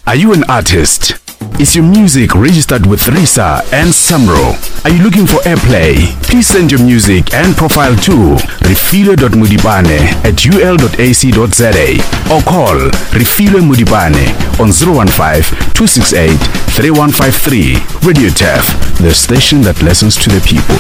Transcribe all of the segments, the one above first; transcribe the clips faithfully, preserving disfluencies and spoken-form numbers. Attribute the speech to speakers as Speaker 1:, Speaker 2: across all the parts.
Speaker 1: Are you an artist? Is your music registered with RISA and SAMRO? Are you looking for airplay? Please send your music and profile to refilwe.modipane at ul.ac.za or call Refilwe Modipane on zero one five, two six eight, three one five three. Radio Turf, the station that listens to the people.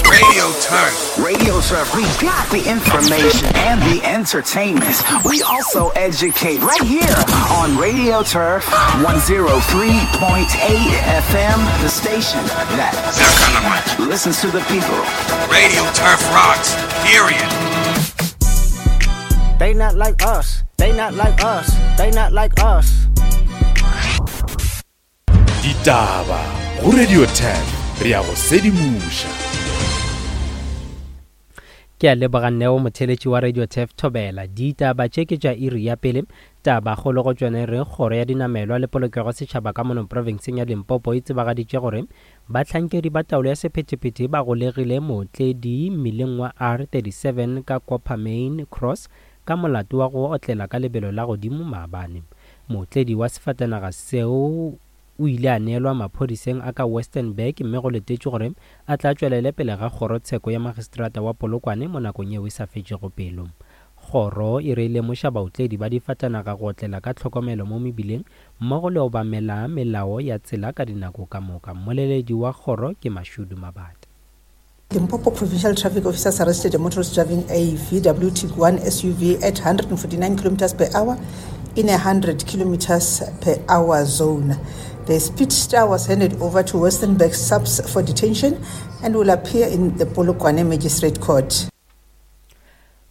Speaker 2: Radio Turf.
Speaker 3: Radio Turf, we got the information and the entertainment. We also educate right here on Radio Turf one zero three point eight F M, the station that listens to the people.
Speaker 2: Radio Turf rocks, period.
Speaker 4: They not like us. They not like us. They not like us.
Speaker 5: Ditaba go Radio Turf, re ya go sedimoša.
Speaker 6: Ke a leboga Neo, motheletši wa Radio Turf Thobela. Ditaba tše ke tša iri ya pele. Taba kgolo go tšone re kgoro ya dinamelwa le polokego setšhaba ka mono profenseng ya Limpopo e tsebagaditše gore bahlankedi ba taolo ya sephethephethe ba golegile mootledi mmileng wa R thirty-seven ka Coppermine Cross ka molato wa go otlela ka lebelo la godimo maabane. Mootledi wa sefatanaga seo o ile a neelwa maphodiseng a ka Westernburg mme go letetšwe gore a tla tšwelele pele ga kgorotsheko ya magistrata wa Polokwane mo nakong yeo e sa fetšego pelo. Kgoro e re lemoša baotledi ba difatanaga go otlela ka tlhokomelo mo mebileng mmogo le obamela melao ya tsela ka dinako ka moka. Mmoleledi wa kgoro ke Mashudu Mabata.
Speaker 7: Limpopo Provincial Traffic Officers arrested a motorist driving a V W Tiguan S U V at hundred forty-nine kilometers per hour in a hundred kilometers per hour zone. The speedster was handed over to Westernburg SAPS for detention and will appear in the Polokwane Magistrate Court.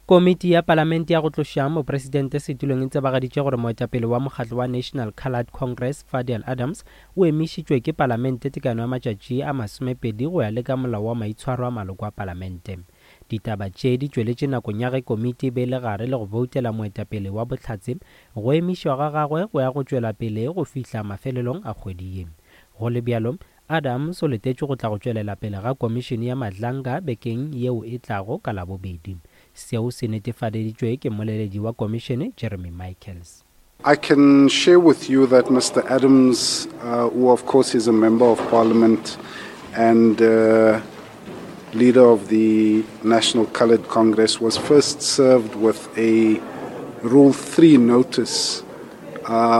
Speaker 6: Komiti ya Palamente ya go tloša mopresidente setulong e tsebagaditše gore moetapele wa mokgatlo wa National Coloured Congress Fadiel Adams o emišitšwe ke Palamente tekano ya matšatši a masomepedi go ya le ka molao wa maitshwaro a maloko a Palamente. Ditaba tše di tšweletše nakong ya ge komiti e be le gare le go boutela moetapele wa bohlatse go emišwa ga gagwe go ya go tšwela pele go fihla mafelelong a kgwedi ye. Go le bjalo, Adams o letetšwe go tla go tšwelela pele ga komišene ya Madlanga bekeng yeo e tlago ka Labobedi. Seo se netefadeditšwe ke mmoleledi wa komišene Jeremy Michaels.
Speaker 8: I can share with you that Mister Adams, uh, who of course is a member of parliament and, uh, leader of the National Coloured Congress, was first served with a Rule three notice, um,